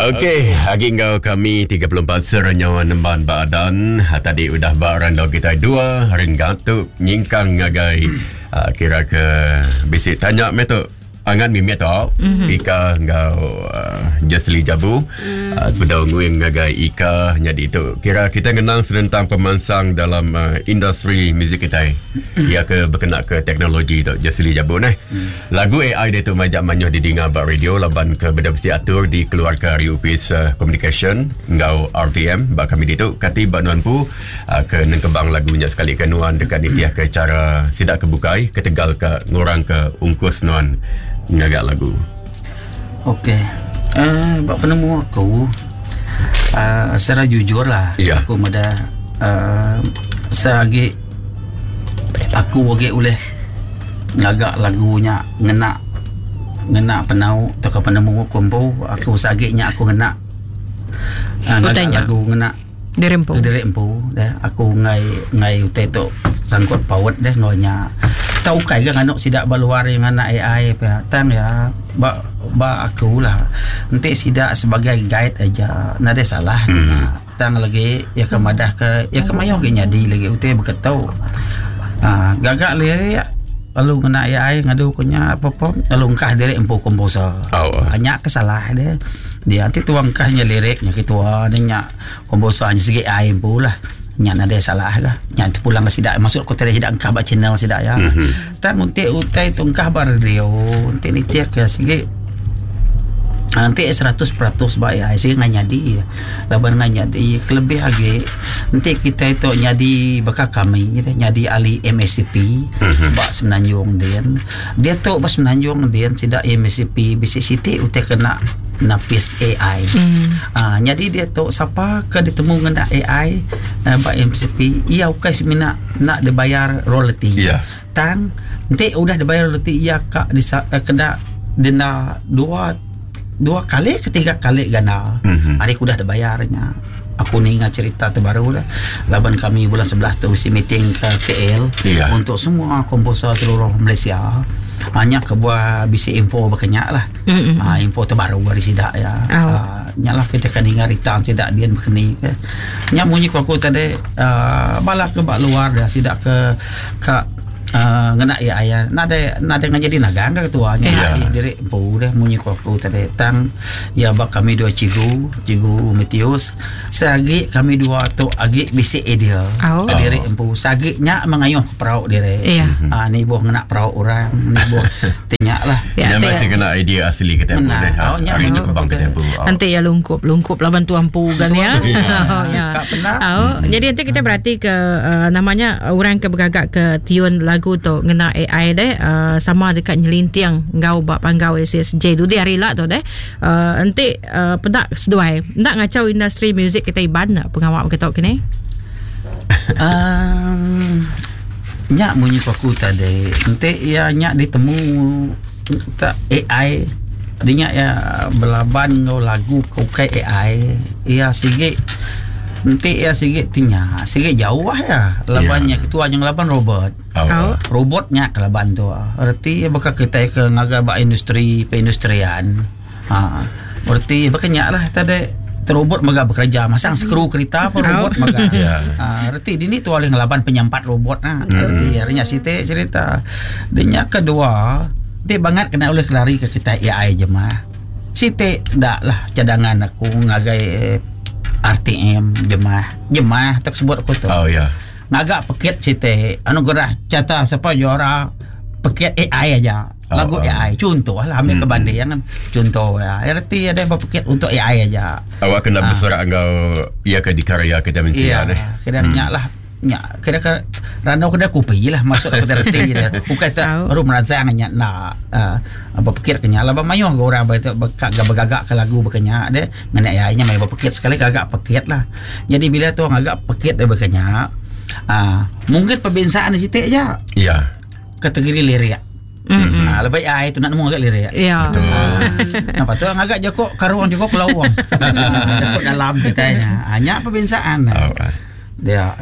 Okey, agi enggau kami 34 serenyawa nemban ba adan. Ha, tadi udah ba randau kitai dua renggat tu nyingkang ngagai uh, kira ke bisi tanya meh tu. Angan mimit tu mm-hmm. Ika enggau uh, Jesly Jabu mm. uh, sebedau nguing ngagai Ika nyadi tu. Kira kita ngenang senentang pemansang dalam uh, industri muzik kitai. Mm. Ia ke berkena ke teknologi tu Jesly Jabu neh. Mm. Lagu AI diatu majak mayuh didinga ba radio laban ke beda bisi atur dikeluarka ari opis uh, communication enggau RTM ba kami ditu. Kati ba nuan empu uh, ke nengkebang lagu nya sekali ke nuan deka nitihka chara sida ke bukai ketegal ka ngurangka ungkus nuan ngaga lagu. Okey. Uh, ba penemu aku uh, secara jujur lah yeah. aku meda uh, seagi aku agi ulih ngaga lagu nya ngena ngena penau tauka penemu aku empu aku seagi nya aku ngena uh, ngaga lagu ngena Diri empu. Diri empu deh. Aku enggai enggai utai tu sangkut paut deh enggau nya. Tau ukai ga nganu sida ba luar iya ngena AI pia. Tang iya ba ba aku lah enti sida sebagai guide aja nadai salah nya. Tang lagi iya ke madah ke iya ke mayuh agi nyadi lagi utai baka tu. Aaa gaga lirik lalu ngena AI ngadu ku nya perform lalu engkah diri empu komposer. Nya ke salah deh. Dia ti tuang engkah nya lirik nya ketua ne nya. Komposer nya sigi ai empu lah. Nya nadai salah lah. Nya terpulang ke sida masuk ko tadi sida engkah ba channel sida ya. Mm -hmm. Tang enti utai tu engkah ba radio, enti nitih ke sigi enti 100% ba ai sigi ngai nyadi. Laban ngai nyadi kelebih agi enti kitai tu nyadi baka kami nyadi ahli MACP mm -hmm. ba Semenanjung din. Diatu ba Semenanjung din sida MACP bisi siti utai kena napis AI. Mm. Uh, nyadi diatu sapa ke ditemu ngena AI uh, ba MCP iya ukai semina nak dibayar royalty. Yeah. Tang enti udah dibayar royalty iya ka disa, uh, kena denda dua dua kali ke tiga kali ganda. Mm -hmm. Ari udah dibayar nya. Aku ninga cerita terbaru lah. Laban kami bulan 11 tu bisi meeting ke KL yeah. untuk semua komposer seluruh Malaysia. Hanya kebuah bisi info berkenyak lah. Mm -hmm. uh, info terbaru dari sidak ya. Oh. Uh, nya lah kita kan ninga rita sidak dia berkeni ke. Nya munyi ku aku tadi uh, bala ke bak luar dia sidak ke ke uh, ngena ya ya nadai nadai ngajadi nagang ke ketua nya yeah. diri empu deh munyi ku aku tadi tang ya ba kami dua cikgu cikgu Matthews seagi kami dua tu agi bisi idea oh. diri empu seagi nya mengayuh perau diri yeah. uh, ni buh ngena perau orang ni buh Tanya lah. Ya, Nya masih kena idea asli kita empu deh. Oh, nya Hari tu kebang kita empu. Oh. Nanti ya lungkup, lungkup laban tu empu kan ya. Oh, ya. Oh, jadi nanti kita berarti ke uh, namanya orang ke bergagak ke tiun lagu tu ngena AI deh uh, sama dekat nyelinting enggau ba panggau SSJ dudi hari lah tu deh. Uh, enti uh, pedak seduai ndak ngacau industri muzik kita Iban pengawa begitu kini. Um, Nya munyi ku aku tadi enti iya nya ditemu tak AI dinya iya belaban enggau lagu ke ukai AI iya sigi enti iya sigi ti nya sigi jauh iya laban nya ketua nya ngelaban robot. Robot nya ke laban tu reti iya baka kitai ke ngaga ba industri perindustrian. Ha reti baka nya lah tadi robot mega bekerja masang skru kerita pun robot mega. Ha reti dini tu ulih ngelaban penyampat robot nah. Reti ari nya siti cerita. Di nya kedua ti bangat kena ulih kelari ke kitai AI jemah. Siti da lah cadangan aku ngagai RTM jemah. Jemah tok sebut aku tu. Oh ya. Ngaga pekit siti anugerah cata sapa juara pekit AI aja. Lagu oh, AI contoh lah ambil hmm. ke banding kan. Contoh ya. Erti ada berpekit untuk AI aja. Awak kena ha. berserak enggau ia ke dikarya kita mensia ya, deh. Kena hmm. lah nya kira ke randau kena kopi lah maksud aku reti dia. Bukan tak baru merangsang nya nak uh, berpikir kenya lah mayuh ga orang berkak ga bergagak ke lagu berkenya deh. Ngena AI nya mayuh berpekit sekali gagak pekit lah. Jadi bila tu agak pekit dia berkenya uh, mungkin perbezaan di situ aja. Ya. Kategori lirik. Mm-hmm. Ha, lebih ai tu nak nemu agak lirik. Ya. Betul. Ha, nampak tu agak joko karuang joko kelawang. Joko dalam kita nya. Ha, nya perbezaan. Oh. Dia.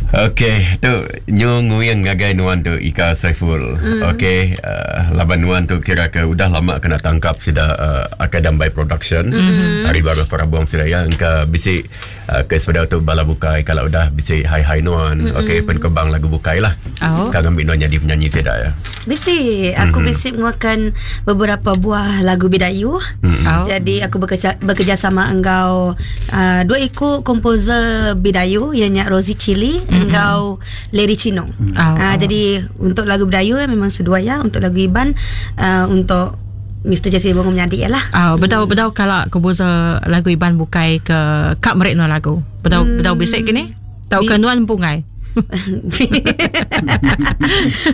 Okey, tu nyu nguing ngagai nuan tu Ika Saiful. Mm. Okey, uh, laban nuan tu kira ke udah lama kena tangkap sida uh, Akai Dambai Production. Mm. Hari baru perabung sida ya engka bisi uh, ke sepedau tu bala bukai kalau udah bisi hai-hai nuan. Mm. Okey, penkebang lagu bukai lah. Oh. Ka ngambi nuan jadi penyanyi sida ya. Bisi, aku mm-hmm. bisi mengeluarkan beberapa buah lagu Bidayu. Mm-hmm. Oh. Jadi aku bekerja, bekerjasama enggau uh, dua iku komposer Bidayu ianya Rosie Chili mm-hmm. enggau Larry Chino. Mm. Oh. Uh, jadi untuk lagu Bidayu eh, memang seduai ya, untuk lagu Iban uh, untuk Mr. Jesse Bongo menyadi ya lah. Oh, betul betul kalau komposer lagu Iban bukai ke kak merik nuan lagu. Betul hmm. betul bisik kini? Tau ke nuan empungai?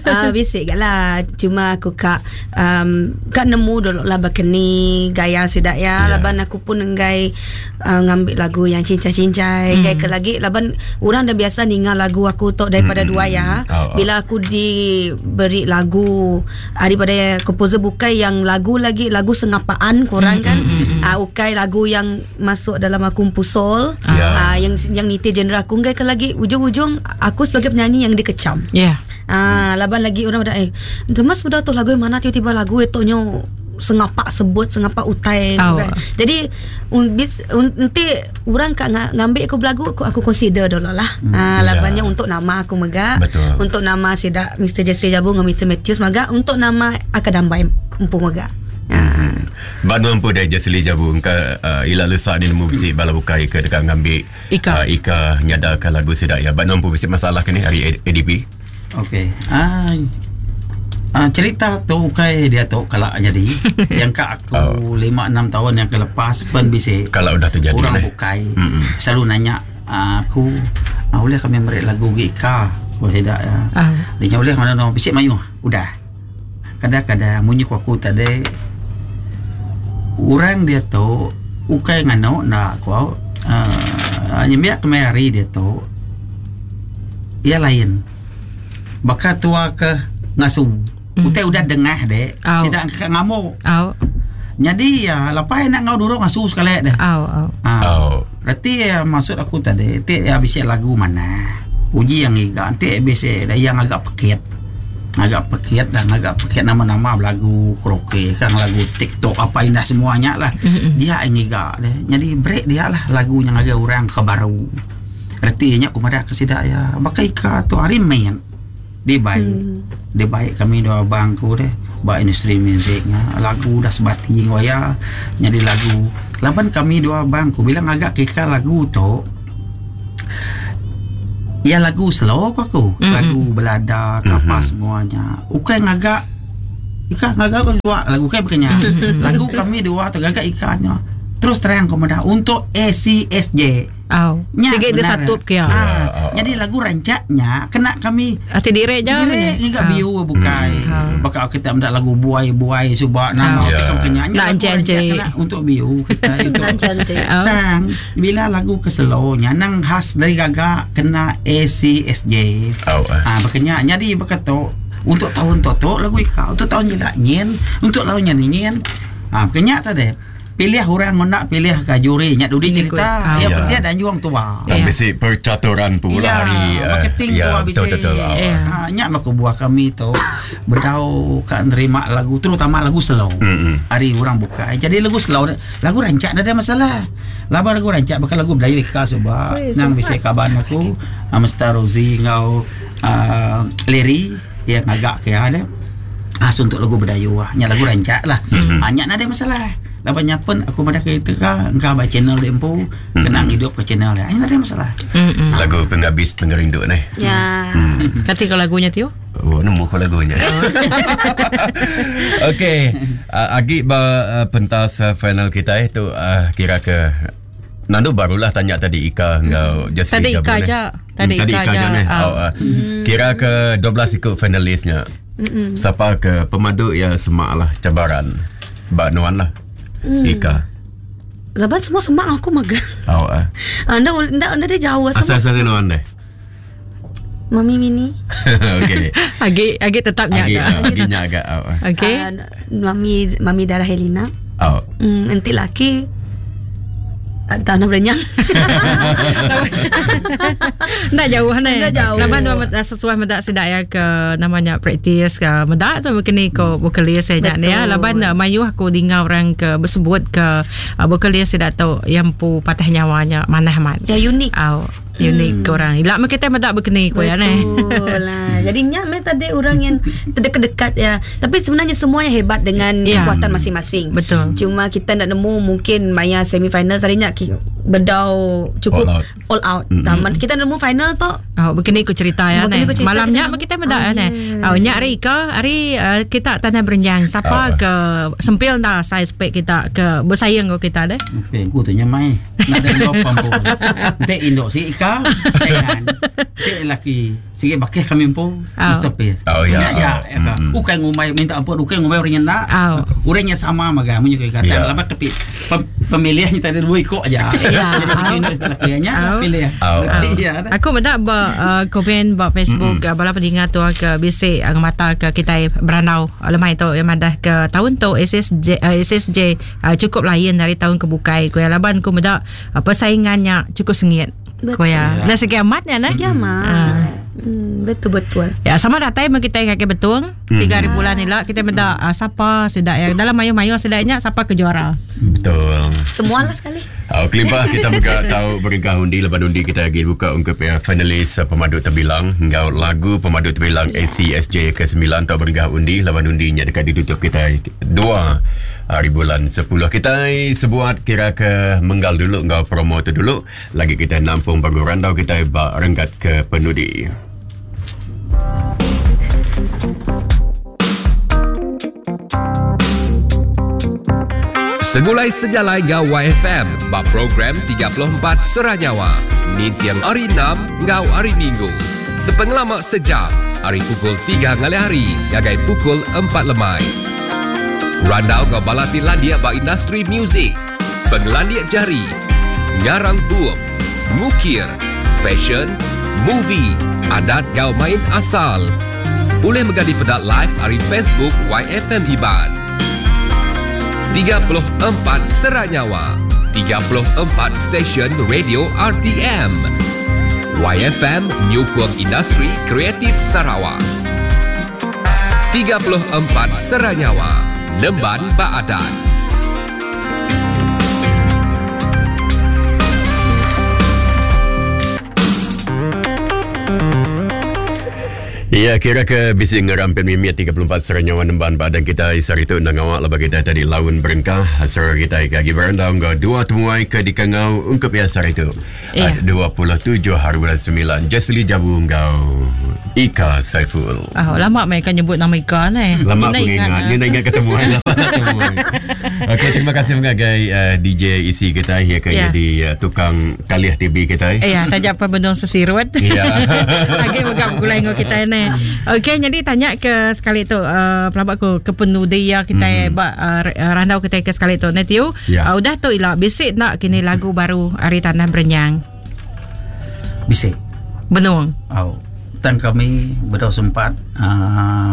uh, bisik gak lah. Cuma aku kak um, kak nemu dulu lah berkeni gaya sidak ya. Yeah. Laban aku pun enggai uh, ngambil lagu yang cincai-cincai. Enggai ke lagi laban orang dah biasa ninga lagu aku tok daripada dua ya. Oh, oh. Bila aku diberi lagu daripada komposer bukai yang lagu lagi lagu sengapaan korang kan. Uh, ukai lagu yang masuk dalam aku pusol. Yeah. Uh, yang yang niti genre aku enggai ke lagi ujung-ujung aku sebagai penyanyi yang dikecam. Ya. Yeah. Ah, laban lagi orang udah eh Mas udah tu lagu yang mana tiba-tiba lagu itu nyo sengapak sebut sengapak utai oh. kan. Jadi un, bis, un, nanti orang kak ngambil aku belagu aku, aku consider dulu lah. Ah, labannya yeah. untuk nama aku mega. Betul. Untuk nama sidak Mr. Jeffrey Jabu dengan Mr. Matthews mega untuk nama Akadambai empu mega. Hmm. Banu empu dah Jesli Jabu engka uh, ila lesak ni nemu bisi bala bukai ke dekat ngambil Ika. Uh, Ika nyadakan lagu sidak ya. Banu empu bisi masalah ke ni hari ADP? Okey. Ah, ah cerita tu kai dia tu kalau jadi yang kak aku 5 6 tahun yang kelepas pun bisi Kalau udah terjadi orang lah. bukai Mm-mm. selalu nanya ah, aku ah, boleh kami merik lagu gi Ika aku tidak ya. Ah. Dia boleh mana no bisik mayu udah. Kadang-kadang munyi ku aku tadi orang dia tu ukai ngano nak aku uh, nyembiak kemai hari dia tu ia lain. Bakal tua ke ngasu. Utai udah dengah dek. Au. Sidak ke ngamuk. Au. Jadi ya lepas nak ngau durung ngasu sekali deh. Au au. Ha. Oh. Berarti ya, maksud aku tadi ti ya bisa lagu mana. Uji yang iga nanti bisa ada yang agak pekit. Agak pekit dan agak pekit nama-nama lagu karaoke kan lagu TikTok apa indah semuanya lah. Mm-mm. Dia yang iga deh. Jadi break dia lah lagu yang agak orang ke baru. Artinya aku madah ke sidak ya. Bakai ka tu hari main. Dia baik. Dia baik kami dua abangku deh. Ba industri muziknya lagu dah sebati waya jadi lagu. Laban kami dua abangku bilang agak keka lagu tu Ya lagu slow ko aku. Mm-mm. Lagu belada apa Mhm. semuanya. Ukai ngagak Ika ngagak ko dua lagu kai bukannya. Lagu kami dua tu gagak ikannya. Terus terang ko madah untuk ACSJ. Au. Nya Sige dia sebenarnya. satu ke ya. Ah, Ya. jadi lagu rancaknya kena kami Ati dire je. Dire juga biu bukai. Hmm. Bakal kita mendak lagu buai-buai subak nama Ya. kita kena Nak encik-encik. kena untuk biu kita itu. Encik-encik. Au. Tang bila lagu keselonya nang khas dari gagak kena ACSJ. Oh. eh. Ah bakanya jadi bakato untuk tahun toto lagu ika untuk tahun jelak nyen untuk tahun nyen nyen. Ah bakanya tadi pilih orang nak pilih ke juri nya dudi Ini cerita kot. yang Ya. penting ada juang tua. Dan Ya. bisi percaturan pula Ya, hari eh, marketing ya, tu betul habis. betul. Oh. Ya. Ha, nyak maka buah kami tu bedau kan nerima lagu terutama lagu slow. Mm-mm. Hari orang buka. Jadi lagu slow lagu rancak tak ada masalah. Laba lagu rancak bakal lagu Melayu ikhlas sebab nang bisa kaban aku ah, Mr. Rozi ngau uh, Larry yang agak ke ada. Ah untuk lagu Bedayu ah. Nyak lagu rancak lah. Mm-hmm. Ah nyak ada masalah. Labannya pun aku madah ke itu ka engkau ba channel dia empu kena hidup ke channel dia. Ah, ndak ada masalah. Mm-mm. Lagu penghabis pengerindu ni. Ya. Kati kalau lagunya Tio? Oh, nemu kau lagunya. Okey, agi ba pentas final kita itu kira ke Nandu barulah tanya tadi Ika enggau Jesse Tadi Jabu Ika ni. aja. Tadi Tadi Ika Ika aja aja. ni. Ah. Oh, Kira ke 12 ikut finalisnya. Siapa ke pemadu ya semak lah cabaran. Ba nuan lah. Ika. Laban semua semak aku magang. Oh, uh. Anda anda anda dia jauh Asal semua. asal nuan deh. Mami Mini. Okey. Agi agi tetapnya Agi agak. agi nya agak. Oh. ah. Okey. Ah, Mami Mami Darah Helena. Oh. Nanti laki. Tanah berenyang. Enda jauh ni. Enda jauh. Laban dua sesuai meda sida ya ke namanya praktis ke meda tu begini ko vokalis saya nya ni ya. Laban mayuh aku dinga orang ke bersebut ke vokalis sida tu yang empu patah nyawanya manah amat. Ya unik. Au unik ke orang. Ila meh kita meda begini ko ya ni. Betul lah. Jadi nya meh tadi orang yang terdekat-dekat ya. Tapi sebenarnya semuanya hebat dengan Ya. kekuatan masing-masing. Betul. Cuma kita nak nemu mungkin maya semi final tadi nya bedau cukup All out. All out. Mm-hmm. Taman kita nemu final tu. Oh, begini ku cerita ya Begini ne. ku cerita Malam kita nya nemu. kita meda Ah, ya ne. ya. Oh, nya hari ke hari kita tanah berenjang. Siapa Ah. ke sempil dah saya spek kita ke bersaing ko kita deh. Okey, ku tu nyamai. Nak ada lopa pun. Entik induk si Ika, saingan. Entik lelaki. Sikit bakih kami pun. Oh. Masterpiece. Oh, ya. Ya, ya. ya ka. Mm-mm. Bukan ngumai minta ampun, bukan ngumai orang yang nak. Oh. Orang yang sama maga munyi kata. Ya. Lama kepi pemilihannya tadi dua ikut aja. Ya. Jadi si induk lelaki nya Oh. pilih. Oh. Betul ya. dah. Aku meda ba komen ba Facebook mm-hmm. bala peninga tu ke bisi mata ke kita berandau lemai tu yang madah ke tahun tu SSJ cukup lain dari tahun ke bukai ko ya laban ku meda persaingannya cukup sengit. Ko ya. Betul. Nah segi amatnya nah. Ya mah. Betul betul. Ya sama datai meh kita kaki betung tiga hari bulan ni lah kita meda siapa sedak yang dalam mayu-mayu sedaknya siapa ke juara. Betul. Semualah sekali. Oh, kelimpah kita buka tahu beringkah undi lepas undi kita lagi buka untuk pihak finalis pemaduk terbilang ngau lagu pemaduk terbilang ACSJ ke-9 tahu beringkah undi lepas undinya dekat ditutup kita 2 hari bulan 10 kita sebuat kira ke menggal dulu ngau promo tu dulu lagi kita nampung baru randau kita ba renggat ke penudi. Segulai sejalai ngau YFM ba program 34 Seranyawa. Nintiang hari 6 ngau hari Minggu. Sepengelama sejam, hari pukul 3 ngalih hari, gagai pukul 4 lemai. Randau ngau balati landia ba industri muzik. Pengelandia jari, ngarang bup, ngukir, fashion, movie, adat gau main asal. Boleh megadi pedak live hari Facebook YFM Iban. 34 Seranyawa 34 Stesen Radio RTM YFM Nyukung Industri Kreatif Sarawak 34 Seranyawa Nemban Baadan Ya, kira ke bisi ngerampin mimit 34 seranyawa nemban badan kita isar itu nang awak lepas kita tadi laun berengkah serang kita lagi berandau ngau dua temuai ke dikengau ungkup ya sar itu. Ya. 27 hari bulan 9 Jesli Jabu ngau Ika Saiful. Ah, lama mereka nyebut nama Ika ni. Lama Ni aku ingat. ah. Ni nak ingat ketemu lama tak temuan. Okey, terima kasih mengagai DJ isi kita ya ke Ya. jadi tukang kaliah TV kita. Eh, ya, tajak apa bendung sesirut. Ya. Lagi megap gulai dengan kita ni. Okey, jadi tanya ke sekali tu pelabak ku ke penudi ya kita mm-hmm. ba, randau kita ke sekali tu. Netiu, Ya. udah tu ila bisik nak kini lagu baru Hari Tanah Berenyang. Bisik. Benung. Au. Tan kami berdua sempat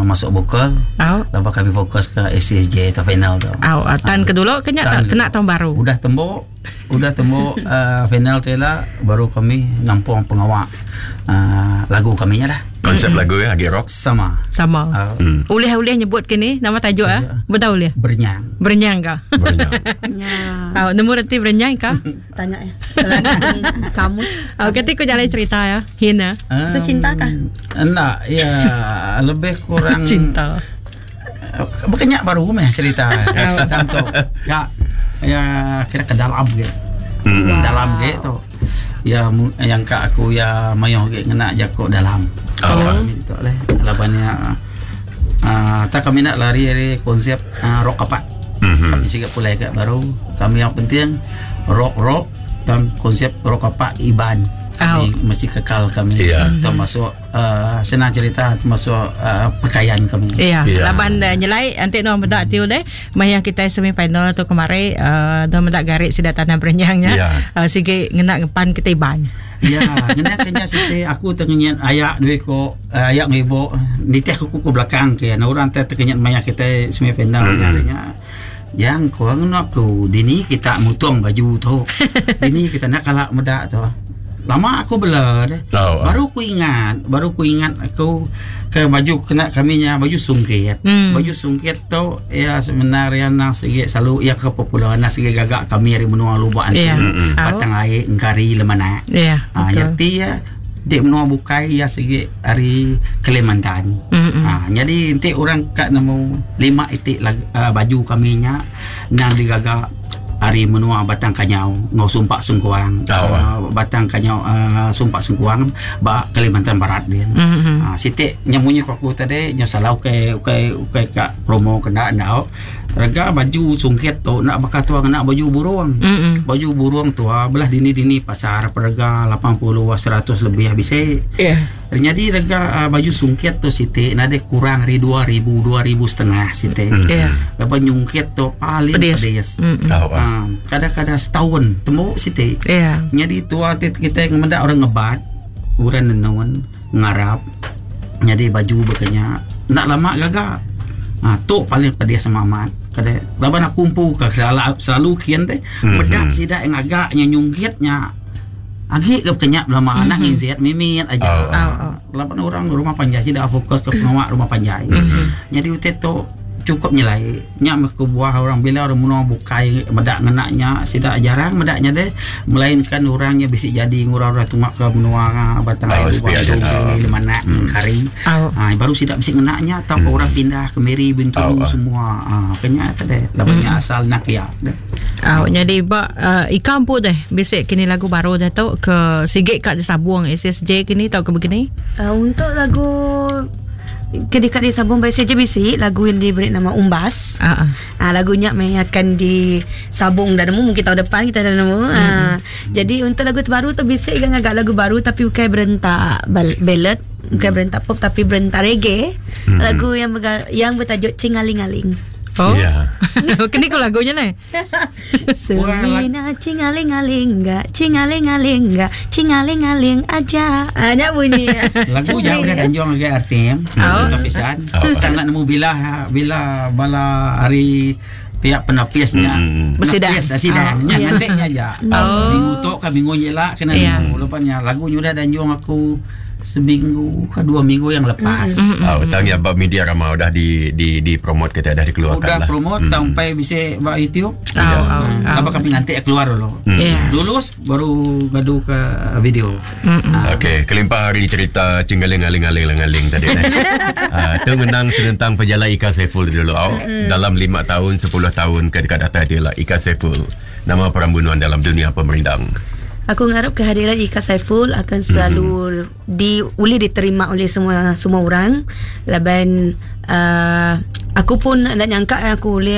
masuk vokal. Au. Lepas kami fokus ke ACSJ atau final tu. Au, tan ke dulu kena Tan tak kena tahun baru. Udah tembok, udah tembok final tu lah baru kami nampung pengawak lagu kami nya lah. Konsep lagu ya Agi Rock. Sama. Sama. Uh, Ulih-ulih nyebut kini nama tajuk ah. Ya. Betul ulih. Bernyang. Berenyang ke? Berenyang. Ya. Au, nemu reti berenyang ke? Tanya ya. Dalam kamus. Au, ketika ku jalan cerita ya. Hina. Itu cinta kah? Enggak, ya lebih kurang Cinta. Bukannya baru meh cerita. Tentang tu. Ya, ya kira ke dalam gitu. Mm-mm. Dalam gitu. Ya yang kak aku ya mayoh ge ngena jakok dalam. Oh. Kami tu leh labannya tak kami nak lari dari konsep rock apa. Mhm. Kami sikap pulai kat baru. Kami yang penting rock rock dan konsep rock apa Iban. Kami mesti kekal kami. Ya. Termasuk senang cerita termasuk pakaian kami. Ya, Ya. laban nyelai nanti no medak tiu deh. Maya kita semi final tu kemari no medak garik sida tanah berenyangnya. Ya. Sige ngena ngepan kita iban. Ya, kena kena siti aku tengenyan ayak duit ko ayak ngibo nitih aku ke belakang ke. Nah orang teh tengenyan maya kita semi final Mm-mm. mm. Yang ko ngena aku dini kita mutung baju tu. Dini kita enda kala meda tu. Lama aku bela deh. Oh, Baru ku ingat, baru ku ingat aku ke baju kena kami nya baju sungkit. Baju sungkit tu iya sebenarnya nang sigi selalu iya ke popular nang sigi gaga kami ari menua Lubok Antu. Yeah. Batang Ai, Engkari, Lemanak. Ya. Ha, Betul. nyerti iya di menua bukai iya sigi ari Kalimantan. Ha, jadi enti orang ka nemu lima iti lag, uh, baju kami nya nang digaga ari menua Batang Kanyau enggau Sumpak Sengkuang. Oh, Batang Kanyau Sumpak Sengkuang ba Kalimantan Barat din. Ha, siti nya munyi ku aku tadi nya salah ukai ukai ukai ka promo kena ndau. Rega baju sungkit tu enda baka tua ngena baju burung. Baju burung tua belah dini-dini pasar perega 80 100 lebih bisi. Ya. Nyadi rega baju sungkit tu siti nadai kurang ari 2000 2000 setengah siti. Ya. Laban nyungkit tu paling Pedis. pedis. Tau ah. Ha, kadang-kadang setahun tembu siti. Ya. Nyadi tua ti kita meda orang ngebat, orang nenun, ngarap. Nyadi baju bekenya enda lama gaga. Ha, tu paling pedis sama amat. Kadai laban aku empu ke selalu, selalu kin teh meda sida yang agak nya nyungkit nya agi ke bekenya belama anak nginsit mimit aja. Oh, oh. Oh. Laban orang rumah panjai sida fokus ke pengawa rumah panjai. Jadi utai tu cukup nyelai. Nya meh kebuah orang bila orang menua bukai meda ngena nya sida jarang meda nya deh melainkan orang nya bisi jadi ngurang orang tunga ke menua Batang Oh, Ai sepi Lubang aja, Dong, oh. Lemanak Kari. Oh. Ha, baru sida bisi ngena nya atau hmm. orang pindah ke Miri Bintulu Oh, oh. semua. Ha, kenya tadi laban nya asal nak ya. Deh. Oh, jadi ba Ika empu deh bisi kini lagu baru dah tu ke sigit kat disabung SSJ kini tau ke begini. Untuk lagu Kedekat disambung by SJBC, lagu yang diberi nama Umbas. Ah. Ah, lagunya memang akan disabung dah nemu mungkin tahun depan kita dah nemu. Ah, jadi untuk lagu terbaru tu bisik kan agak lagu baru tapi bukan berentak ballad, bukan berentak pop tapi berentak reggae. Lagu yang yang bertajuk Cingaling-aling. Oh. Ya. Kini ko lagunya ni. Semina cingaling-aling enggak, cingaling-aling enggak, cingaling-aling aja. Ah, nya bunyi. Lagu jauh dah danjong lagi RTM. Oh. Untuk pisan. Oh. Tak nak nemu bila bila bala hari pihak penapisnya. Bersidang. Penapis, bersidang. Oh. Nya Ya. nanti nya aja. Oh. Minggu tu ke minggu nyela kena Ya. nemu. Lepasnya lagu nya udah danjong aku seminggu ke dua minggu yang lepas. Oh, tang ya bab media ramah udah di di di promote kita dah dikeluarkan Udah lah. promote sampai bisa buat YouTube. Oh, oh, oh. Apa kami nanti keluar dulu. Ya. Lulus baru gadu ke video. Okey, kelimpah hari cerita cinggaling-aling-aling-aling tadi eh. Tu menang senentang pejalai Ika Saiful dulu. Oh, dalam 5 tahun, 10 tahun ke dekat datang dia lah Ika Saiful. Nama perambunuan dalam dunia pemerindang. Aku ngarap kehadiran Ika Saiful akan selalu di boleh diterima oleh semua semua orang. Laban aku pun nak nyangka aku boleh